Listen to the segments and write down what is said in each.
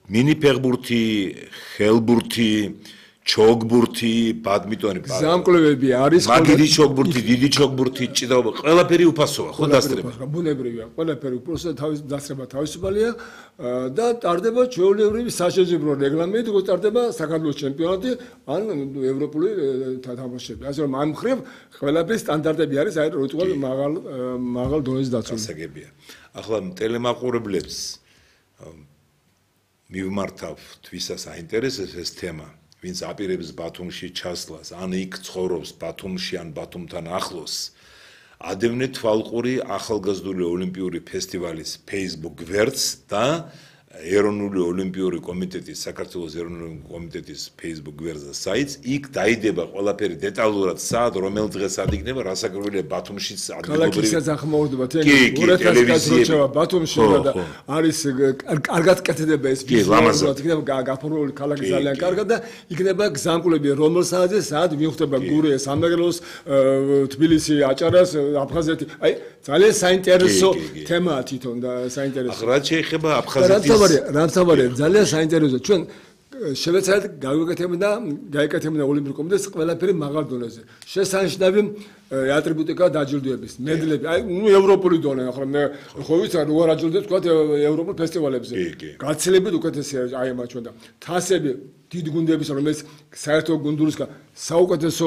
მინიფეხბურთი, ხელბურთი, ჩოგბურთი, ბადმინტონი, ზამკვლევები არის, მაგირი ჩოგბურთი, დიდი ჩოგბურთი, ჭიდაობა, ყველაფერი უფასოა, ხო დასწრება. ბუნებრივია, ყველაფერი უბრალოდ დასწრება თავისუფალია და ტარდება ჩვეულებრივი სასაზღვრო რეგლამენტი, როგორ ტარდება საქართველოს ჩემპიონატი ან ევროპული თამაშები. ასე რომ ამ მხრივ ყველაფერი სტანდარტები არის, აი რიტუალ მაღალ დონეზე დაცული. გასაგებია. ახლა ტელემაყურებლებს მივმართავთ ვისაც აინტერესებს ეს თემა. Ვინც აპირებს ბათუმში ჩასვლას, ან იქ ცხოვრობს ბათუმში, ან ბათუმთან ახლოს, ადევნეთ თვალყური ახალგაზრდული ოლიმპიური ფესტივალის Facebook გვერდს და ეროვნული ოლიმპიური კომიტეტის, საქართველოს ეროვნული კომიტეტის Facebook გვერდს და საიტს, იქ დაიდება ყველაფერი დეტალურად სად, რომელ დღეს სად იქნება, რასაკვირველია ბათუმშიც ქალაქისაც ახმოვდება, ტელევიზია ბათუმში და არის კარგად კეთდება ეს ვიზუალურად, იქნება გაფორმებული ქალაქი ძალიან კარგად და იქნება გზამკვლები, რომელ საათზე სად მიხვდება გურიას, სამეგრელოს, თბილისი, აჭარას, აფხაზეთი. აი ძალიან საინტერესო თემაა თვითონ და საინტერესო. ახლა რაც შეეხება აფხაზეთის რამთავარია ძალიან საინტერესოა ჩვენ შევეცადეთ გაიკეთებინა ოლიმპიური კომიტეტს ყველაფერი მაღალ დონეზე შესანიშნავი ატრიბუტიკა დაჯილდოების მედლები აი ევროპული დონე ახლა მე ხო ვიცი რა აჯილდოებს თქვა ევროპულ ფესტივალებზე გაცილებით უკეთესია აი ამ ჩვენ და თასები დიდი გუნდების რომელიც საერთო გუნდურისგან საუკეთესო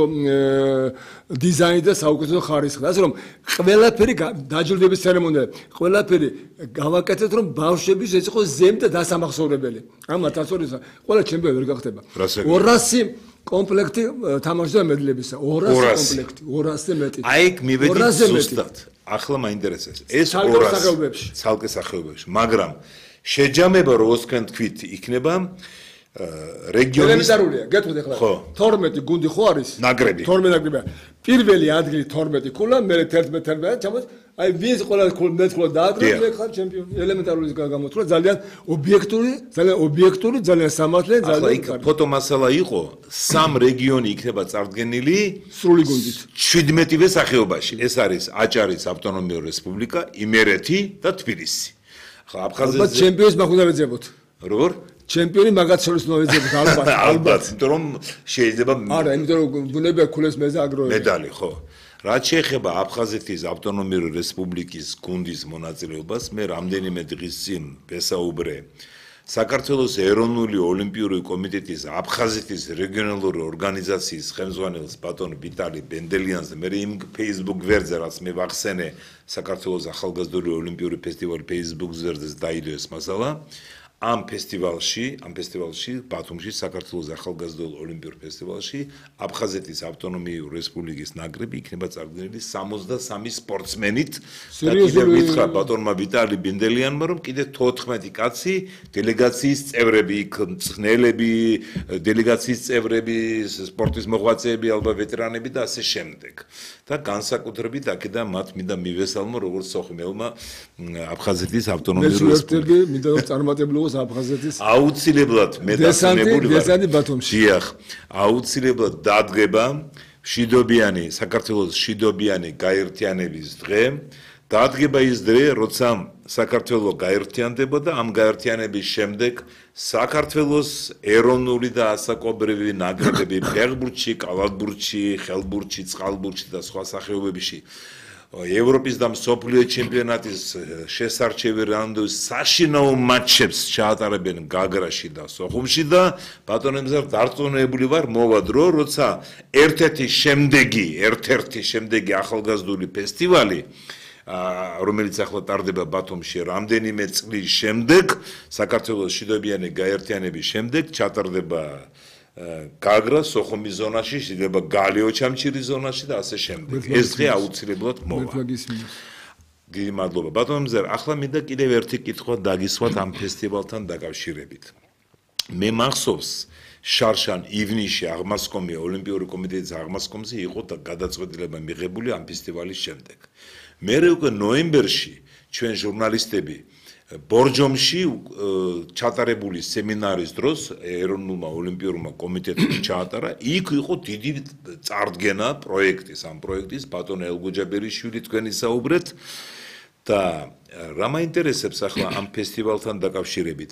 დიზაინი და საუკეთესო ხარისხი ასე რომ ყველაფერი დაჯილდოების ცერემონია ყველაფერი გავაკეთეთ რომ ბავშვების ეს იყოს ზემდე დასამახსოვრებელი ამ 1200 ყველა ჩემპიონი ვერ გახდება 200 კომპლექტი თამაშზე მედლებისა 200 კომპლექტი 200-ზე მეტი აი იქ მივედი ზუსტად ახლა მაინტერესებს ეს 200 ცალკე სახეობებში მაგრამ შეჯამება როგორც თქვენ თქვით იქნება რეგიონის ელემენტარულია გეტყვით ახლა 12 გუნდი ხო არის ნაკრები 12 ნაკრებია პირველი ადგილი 12 ქულა მე 11 ჩამოს აი ვინც ყველა მეტყოლა დააგროვებს მე ხარ ჩემპიონი ელემენტარული გამოთვლა ძალიან ობიექტური ძალიან სამართლე ძალიან იქ ფოტო მასალა იყო სამ რეგიონი იქნება წარდგენილი სრული გუნდით 17-ვე სახეობაში ეს არის აჭარის ავტონომიური რესპუბლიკა იმერეთი და თბილისი ახლა აფხაზეთზე ჩემპიონს მაგ უნდა ვეძებოთ როგორ ჩემპიონი მაგათ შორის ნოვეზებს ალბათ იმიტომ რომ შეიძლება არა იმიტომ რომ ბუნებია ქულეს მეზე აგროვებს მედალი ხო რაც შეეხება აფხაზეთის ავტონომიური რესპუბლიკის გუნდის მონაწილეობას მე რამდენიმე დღის წინ ვესაუბრე საქართველოს ეროვნული ოლიმპიური კომიტეტის აფხაზეთის რეგიონალური ორგანიზაციის ხელმძღვანელს ბატონ ვიტალი ბენდელიანზე მე იმ Facebook გვერდზე რაც მე ვახსენე საქართველოს ახალგაზრდული ოლიმპიური ფესტივალი Facebook გვერდზე დაიდო ეს მასალა ამ ფესტივალში ბათუმში საქართველოს ახალგაზრდულ ოლიმპიურ ფესტივალში აფხაზეთის ავტონომიური რესპუბლიკის ნაკრები იქნება წარდგენილი 63 სპორტსმენით და კიდევ მითხრა ბატონმა ვიტალი ბენდელიანმა რომ კიდე 14 კაცი დელეგაციის წევრები იქ მწვრთნელები დელეგაციის წევრები სპორტის მოღვაწეები ალბათ ვეტერანები და ასე შემდეგ და განსაკუთრებით აქედან მათ მინდა მივესალმო როგორც სოხუმელმა აფხაზეთის ავტონომიური რესპუბლიკის მინდა რომ წარმატებულიყო აფხაზეთის აუცილებლად მე დასწრებული ვარ დესანტი ბათუმში დიახ აუცილებლად დადგება მშვიდობიანი საქართველოს მშვიდობიანი გაერთიანების დღე დადგება ის დღე როცა საქართველო გაერთიანდება და ამ გაერთიანების შემდეგ საქართველოს ეროვნული და ასაკობრივი ნაკრებები ფეხბურთში, კალათბურთში, ხელბურთში, წყალბურთში და სხვა სახეობებში ევროპის და მსოფლიო ჩემპიონატის შესარჩევი რაუნდების საშინაო მატჩებს ჩაატარებენ გაგრაში და სოხუმში და ბატონებზარ დარწმუნებული ვარ მოვა დრო როცა ერთ-ერთი შემდეგი ახალგაზრდული ფესტივალი რომელიც ახლა ტარდება ბათუმში რამდენიმე წლის შემდეგ საქართველოს მშვიდობიანი გაერთიანების შემდეგ ჩატარდება გაგრა სოხუმის ზონაში, შეიძლება გალიო ჩამჩირის ზონაში და ასე შემდეგ. ეს დღე აუცილებლად მოვა. დიდი მადლობა. ბატონო მზერ, ახლა მინდა კიდევ ერთი კითხვა დაგისვათ ამ ფესტივალთან დაკავშირებით. მე მახსოვს შარშან ივნისში აღმასკომი ოლიმპიური კომიტეტის აღმასკომზე იყო გადაწყვეტილება მიღებული ამ ფესტივალის შემდეგ. მერე უკვე ნოემბერში ჩვენ ჟურნალისტები ბორჯომში ჩატარებული სემინარის დროს ეროვნულმა ოლიმპიურმა კომიტეტმა ჩაატარა იქ იყო დიდი წარდგენა პროექტის ამ პროექტის ბატონ ელგოჯაბერიშვილი თქვენ ისაუბრეთ და რა მაინტერესებს ახლა ამ ფესტივალთან დაკავშირებით